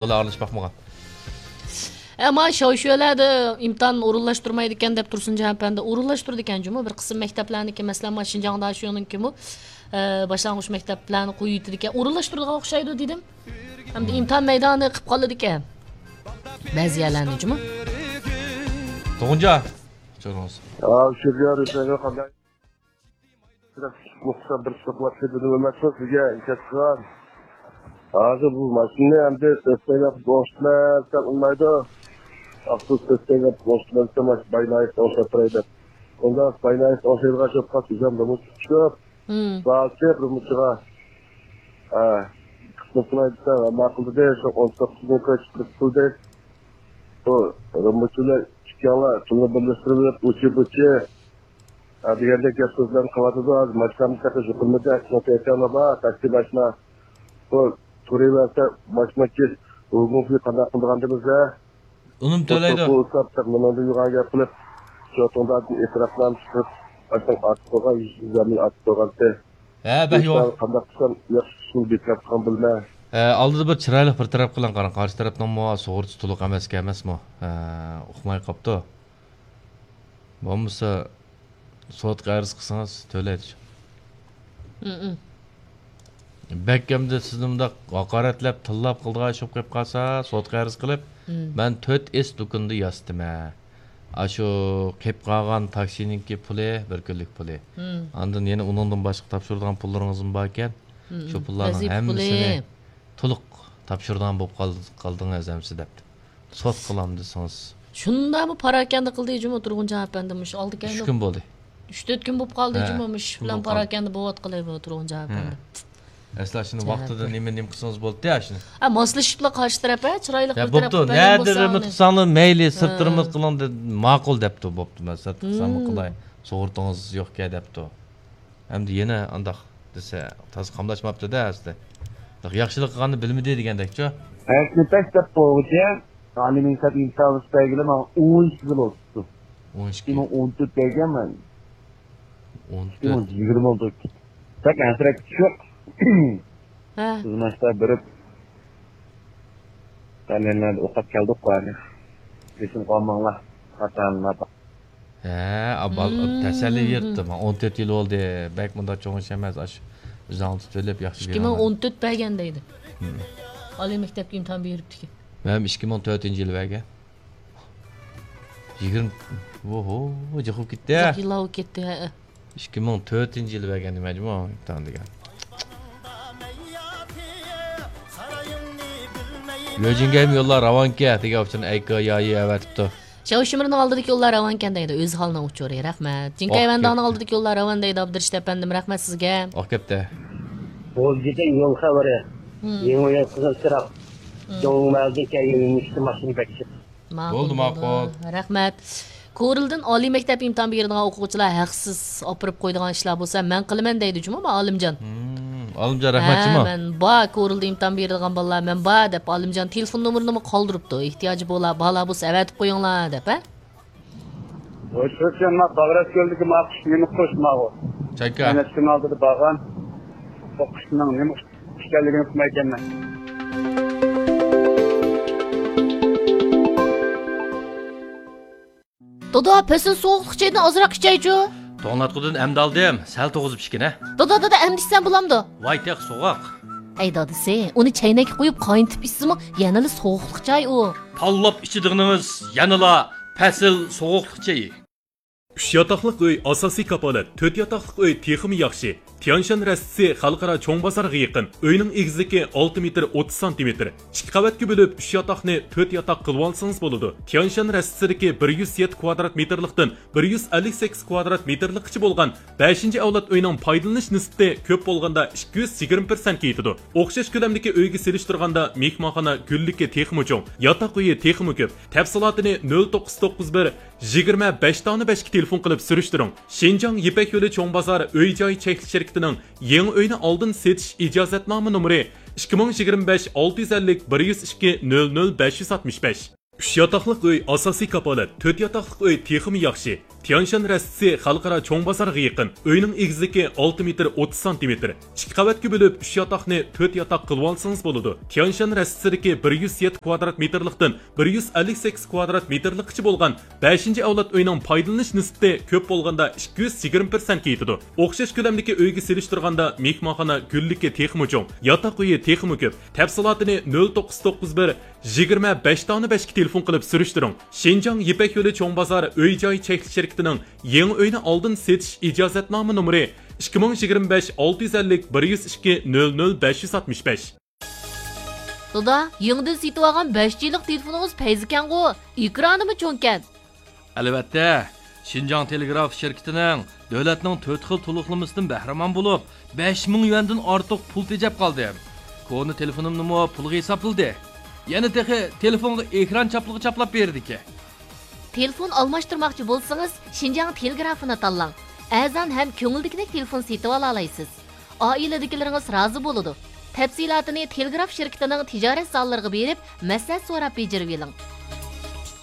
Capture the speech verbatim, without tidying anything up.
ئارىلىشىپ باقمىغان. ئەمما شاۋشۈەلەردە ئىمتىھان ئورۇنلاشتۇرمايدىكەن دەپ تۇرسۇنجان ئەپەندى، ئورۇنلاشتۇرىدىكەن جۇمۇ. بىر قىسىم مەكتەپلەرنىڭكى، مەسىلەن، مانا شىنجاڭدا شۇنىڭكىمۇ، ئە، باشلانغۇچ مەكتەپلەرنى قويۇۋېتىدىكەن. ئورۇنلاشتۇرىدىغان ئوخشايدۇ دېدىم. ھەمدە ئىمتىھان مەيدانى قىلىپ قالىدىكەن بەزى يەرلەرنى جۇمۇ. تۇغۇنجان، چورۇڭىز. ھا، شۆگەر، سەن قانداق؟ مۇخلىسلار بىر سوقۇۋاتسا دېدىم ئەمەسمۇ سىزگە ئىنكاس قىلغان. ھازىر بۇ ماشىنىنى ئەمدى تۆت پەيلەپ بوشتۇرمىسام ئۇنىمايدۇ. ئاپتوبۇس تۆت پەيلەپ بوشتۇرمىسام باينايىس ئوڭشاپ تۇراي دەپ. ئۇنداق باينايىس ئوڭشايدىغان شوپقا سىزەم نومۇس چىقىپ. بارچە رۇمۇچىغا قىسمەت قىلاي دېسە ماقۇل دېدى. شۇ ئون توققۇز مىڭ كوي چىقىپ قىلدى. بۇ رۇمۇچىلار ئىككىڭلار پۇلنى بىرلەشتۈرۈپ ئۇچى بۇچى. ھە، دېگەندەك گەپ سۆزلەرنى قىلىۋاتىدۇ. ھازىر ماشىنامنى تېخى يۇقىرىمىدە، شۇڭا تەيكەن بابا، تاكسى ماشىنا. بۇ تۇرۇۋەرسە، ماشىنا كېچ، ھۇگۇڭفى قانداق قىلىدىغان دېمىز ھە؟ ئۇنىمۇ تۆلەيدۇ. بۇ ئۇستا مېنىڭدىن يوغان گەپ قىلىپ، شۇ توڭدا ئېتىراپنامە چىقىرىپ، باشنىڭ ئارتىپ قويغان، يۈز يۈزلەرنى ئارتىپ قويغانتى. ھە، بەك يوغان. قانداق قىلسام ياخشى ئۇسۇل بىر تەرەپ قىلغان بىلمەي. ھە، ئالدىدا بىر چىرايلىق بىر تەرەپ قىلىڭ، قاراڭ، قارشى تەرەپنىڭمۇ سۇغۇرتىسى تولۇق ئەمەسكەن ئەمەسمۇ؟ ھە، ئۇقماي قاپتۇ. بولمىسا سوتقا ئەرز قىلسىڭىز تۆلەيدۇ. مم. بەك ئەمدى سىزنى مۇنداق ھاقارەتلەپ، تىللاپ قىلىدىغان ئىش بولۇپ قېلىپ قالسا، سوتقا ئەرز قىلىپ، مم، مەن تۆت ئېس دۇكىنىدا ياسىتىمەن. ئاشۇ قېلىپ قالغان تاكسىنىڭكى پۇلى، بىر كۈنلۈك پۇلى. مم. ئاندىن يەنە ئۇنىڭدىن باشقا تاپشۇرىدىغان پۇللىرىڭىزمۇ باركەن. مم. شۇ پۇللارنىڭ ۋەزىپە ھەممىسىنى پۇلى. تولۇق تاپشۇرىدىغان بولۇپ قال-، قالدىڭىز ئەمىسە دەپتۇ. سوت قىلام دېسىڭىز. شۇنداقمۇ پاراكەندە قىلدى جۇمۇ تۇرغۇنجان ئەپەندى مۇشۇ ئالدى كەينى. ئۈچ كۈن بولدى. ئۈچ تۆت كۈن بولۇپ قالدى جۇمۇ مۇشۇ ئىش بىلەن پاراكەندە بولۇۋاتقىلى بۇ تۇرغۇنجان ئەپەندى. ئەسلى شۇنى ۋاقتىدا نېمە، نېمە قىلسىڭىز بولدى شۇنى. ھە، ماسلىشىپلا قارشى تەرەپ، ھە، چىرايلىق بىر تەرەپ بوپتۇ. نەدە رېمونت قىلساڭلار مەيلى، سىرتتا رېمونت قىلىڭ دېدى. ماقۇل دەپتۇ، بوپتۇ، مەن سىرتقا سەنمۇ قىلاي. سۇغۇرتىڭىز يوقكەن دەپتۇ. ئەمدى يەنە ئانداق دېسە، تازا قاملاشماپتۇ-دە ئەسلى. ياخشىلىق قىلغاننى بىلمىدى دېگەندەكچۇ؟ ھەرىكەت دەپ بولغۇچە، ئالىي مەكتەپ ئىمتىھان ئۈستەيگىلى ماڭا ئون ئىككى يىل بولۇپتۇ. ئون ئىككى. ئىككى مىڭ ئون تۆت دەيگەنمەن. ئون تۆت. ئىككى مىڭ يىگىرمە بولدى. بەك ھەسرەت چۈشۈپ. ھە. خىزمەتتە بېرىپ، تەلەيلەردە ئوقۇپ كەلدۇق بارنى. بېسىم قالماڭلار. خاتالىنىپ. ھە، ئا، بال-، تەسەللى بېرىپتۇ. مانا ئون تۆت يىل بولدى. بەك مۇنداق چوڭ ئىش ئەمەس. ئاشۇ ئۆزىڭ تۇتۇۋېلىپ ياخشى. ئىككى مىڭ ئون تۆت بەرگەن دەيدۇ. ئالىي مەكتەپكە ئىمتىھان بېرىپتىكەن. مەن ئىككى مىڭ تۆتىنچى يىلى بەرگەن. يىگىرمە، ۋوھو، جىق بولۇپ كەتتى. يىللار بولۇپ كەتتى، ھە. ئىككى مىڭ تۆتىنچى يىلى بەرگەن مەجمۇ ئىمتىھان دېگەن. يۆجىنگەيمۇ يوللار راۋانكەن دېگەن ئۇچۇرنى ئەيكا يايى ئەۋەتىپتۇ. چاۋشىمىرنىڭ ئالدىدىكى يوللار راۋانكەن دەيدۇ، ئۆزى خالنىڭ ئۇچۇرى. رەھمەت. جىنكايۋەندانىڭ ئالدىدىكى يوللار راۋان دەيدۇ، ئابدۇرېشىت ئەپەندىم، رەھمەت سىزگە. ئاق كەپتە. بولجىدىن يول خەۋىرى. يېڭى يول قىزىل چىراغ. دۆڭمەلدىن كەلگەن يېڭى ماشىنا بەكچىپ. ماقۇل بولدى، بولدى. ماقۇل. رەھمەت. كورلىدىن ئالىي مەكتەپ ئىمتىھان بېرىدىغان ئوقۇغۇچىلار ھەقسىز ئاپىرىپ قويىدىغان ئىشلار بولسا مەن قىلىمەن دەيدۇ جۇمۇ ئالىمجان. ھىم، ئالىمجان رەھمەت جۇمۇ. ھە، مەن بار، كورلىدا ئىمتىھان بېرىدىغان بالىلار مەن بار دەپ ئالىمجان تېلېفون نومۇرىنىمۇ قالدۇرۇپتۇ. ئېھتىياجى بولا-، بارلار بولسا ئەۋەتىپ قويۇڭلار دەپ، ھە؟ ۋاي، شۇ ما باغرەسكۆلدىكى ما قۇش نېمە قۇش ماغۇ؟ چايكا. مەن ئىككى مىڭ ئالتىدا بارغان. بۇ قۇشنىڭ نېمە قۇش ئىكەنلىكىنى ئۇقمايكەنمەن. دادا، پەسىل سوغۇقلۇق چايدىن ئازراق ئىچەيچۇ. توڭلاتقۇدىن ئەمدى ئالدىم، سەل توغۇزۇپ ئىچكىنە. دادا، دادا، ئەمدى ئىچسەم بولامدۇ؟ ۋاي، تېخى سوغۇق. ئەي دادىسى، ئۇنى چەينەككە قۇيۇپ قاينىتىپ ئىچسىمۇ يەنىلا سوغۇقلۇق چاي ئۇ. تاللاپ ئىچىدىغىنىڭىز يەنىلا پەسىل سوغۇقلۇق چېيى. ئۈچ ياتاقلىق ئۆي ئاساسىي كاپالەت، تۆت ياتاقلىق ئۆي تېخىمۇ ياخشى. تيانشان رەستىسى خەلقئارا چوڭ بازارغا يېقىن. ئۆينىڭ ئېگىزلىكى ئالتە مېتىر ئوتتۇز سانتىمېتىر. ئىككى قەۋەتكە بۆلۈپ، ئۈچ ياتاقنى تۆت ياتاق قىلىۋالسىڭىز بولىدۇ. تيانشان رەستىسىدىكى بىر يۈز يەتتە كۋادرات مېتىرلىقتىن بىر يۈز ئەللىك سەككىز كۋادرات مېتىرلىققىچە بولغان بەشىنچى ئەۋلاد ئۆينىڭ پايدىلىنىش نىسبىتى كۆپ بولغاندا ئىككى يۈز يىگىرمە پىرسەنتكە يېتىدۇ. ئوخشاش كۆلەمدىكى ئۆيگە سېلىشتۇرغاندا مېھمانخانا گۈللۈكى تېخىمۇ چوڭ، ياتاق ئۆيى تېخىمۇ كۆپ. تەپسىلاتىنى نۆل توققۇز توققۇز بىر، يىگىرمە بەش دانە بەشكە تېلېفون قىلىپ سۈرۈشتۈرۈڭ. شىنجاڭ يىپەك يولى چوڭ بازار ئۆي جاي چەكلىك شىركىتىنىڭ يېڭى ئۆينى ئالدىن سېتىش ئىجازەتنامە نومۇرى ئىككى مىڭ يىگىرمە بەش ئالتە يۈز ئەللىك بىر يۈز ئىككى نۆل نۆل بەش يۈز ئاتمىش بەش. ئۈچ ياتاقلىق ئۆي ئاساسىي كاپالەت، تۆت ياتاقلىق ئۆي تېخىمۇ ياخشى. تيانشان رەستىسى خەلقئارا چوڭ بازارغا يېقىن. ئۆينىڭ ئېگىزلىكى ئالتە مېتىر ئوتتۇز سانتىمېتىر. ئىككى قەۋەتكە بۆلۈپ، ئۈچ ياتاقنى تۆت ياتاق قىلىۋالسىڭىز بولىدۇ. تيانشان رەستىسىدىكى بىر يۈز يەتتە كۋادرات مېتىرلىقتىن بىر يۈز ئەللىك سەككىز كۋادرات مېتىرلىققىچە بولغان بەشىنچى ئەۋلاد ئۆينىڭ پايدىلىنىش نىسبىتى كۆپ بولغاندا ئىككى يۈز يىگىرمە پىرسەنتكە يېتىدۇ. ئوخشاش كۆلەمدىكى ئۆيگە سېلىشتۇرغاندا، مېھمانخانا گۈللۈكى تېخىمۇ چوڭ، ياتاق ئۆيى تېخىمۇ كۆپ. تەپسىلاتىنى نۆل توققۇز توققۇز بىر، يىگىرمە بەش دانە بەشكە تېلېفون قىلىپ سۈرۈشتۈرۈڭ. شىنجاڭ يىپەك يولى چوڭ بازار ئۆي جاي چەكلىك شىركىتىنىڭ يېڭى ئۆينى ئالدىن سېتىش ئىجازەتنامە نومۇرى ئىككى مىڭ يىگىرمە بەش ئالتە يۈز ئەللىك بىر يۈز ئىككى نۆل نۆل بەش يۈز ئاتمىش بەش. دادا، يېڭىدىن سېتىۋالغان بەش جى لىق تېلېفونىڭىز پەيزىكەنغۇ؟ ئېكرانىمۇ چوڭكەن. ئەلۋەتتە، شىنجاڭ تېلېگراف شىركىتىنىڭ دۆلەتنىڭ تۆت خىل تولۇقلىمىسىدىن بەھرىمەن بولۇپ، بەش مىڭ يۈەندىن ئارتۇق پۇل تېجەپ قالدىم. كونا تېلېفونۇمنىمۇ پۇلغا ھېسابلىدى. يەنە تېخى تېلېفونغا ئېكران چاپلىقى چاپلاپ بېرىدىكەن. تېلېفون ئالماشتۇرماقچى بولسىڭىز، شىنجاڭ تېلېگرافىنى تاللاڭ. ئەرزان ھەم كۆڭۈلدىكىدەك تېلېفون سېتىۋالالايسىز. ئائىلىدىكىلىرىڭىز رازى بولىدۇ. تەپسىلاتىنى تېلېگراف شىركىتىنىڭ تىجارەت زاللىرىغا بېرىپ مەسلىھەت سوراپ بېجىرىۋېلىڭ.